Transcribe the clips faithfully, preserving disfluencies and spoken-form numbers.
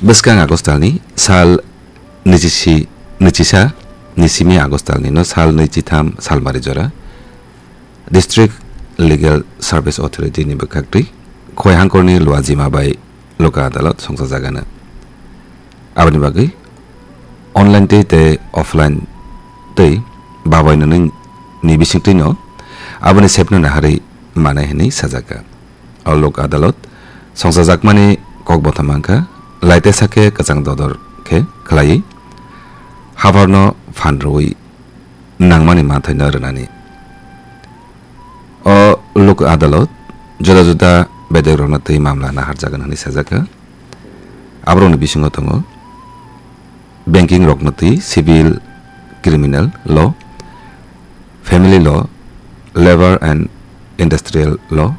Bwskang August talni sal nwichisi, nwichisa ni simi August talni no sal nwichitham salmari jora District Legal Service Authority ni bwkhaktwi Khowai hangkorni Luajima bai Loka Adalot songchajagano. Aboni bagwi online twi tei offline twi babai nwnwi ni bisingtwino aboni sepno naharwi manai hwnwi sajaka. O Lok Adalot songchajakmani kokbotham wngkha laitesa khe kwchang dodor khe khlaiwi haphangno phan rwui nangmani manthaino rwnani. O Lok Adalot juda juda bedekrokno twi mamla naharjagani hwnwi sajaka. Aborokni bisingo tongo banking rokno twi civil, criminal law, family law, labour and industrial law,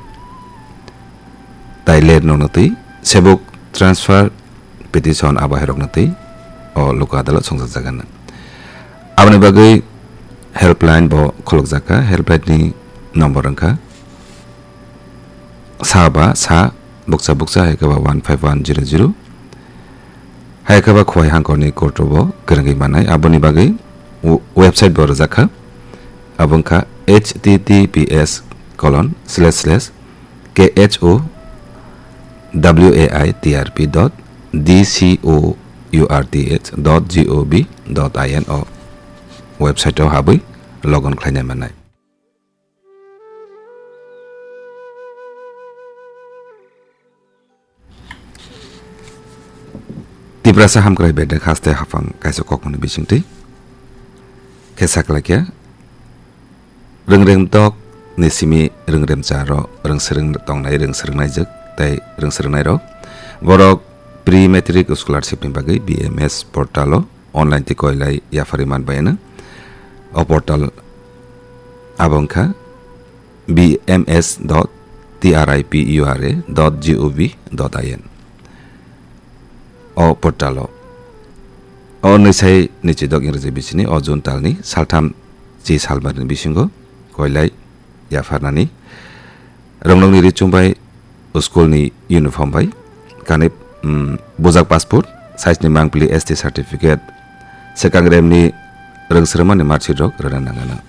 tai land rokno twi sebuk transfer petition abo hai rokno twi o Lok Adalot songchajakgana. Aboni bagwi helpline bo khulukjakha, helpline ni number wngkha sa ba sa bukcha bukcha hai khe ba one five one zero zero. Hai khe ba Khowai hangkorni court o bo kwrwngwi manai. Aboni bagwi w-, website bo rwjakha. Abo wngkha H T T P S colon slash slash K H O W A I T R P dot D C O U R T H dot G O V dot I N o website o habwi log on khlainai manai. Tiprasa Hamkrai Bedek haste haphang kaisa kokmani bisingtwi khe saklaikha. Rwngremdok ni simi rwngremcharo rwngswrwng tongnai rwngswrwngnaijwk tei rwngswrwngnairok borok pre matric scholarship ni bagwi B M S portal o online twi koilai yapharwi manbai hwno. O portal abo wngkha B M S dot T R I P U R A dot G O V dot I N. O portal o, o nwisai nwichidok Ingreji bisini o June talni saltham chi salbarni bisingo koilai yapharnani. Rwngnokni richum bai school ni uniform bai kanwi, mm, bujak passport, size ni mangpili S T certificate, swkang remni rwngswrwngmani marksheet rok rwna nangano.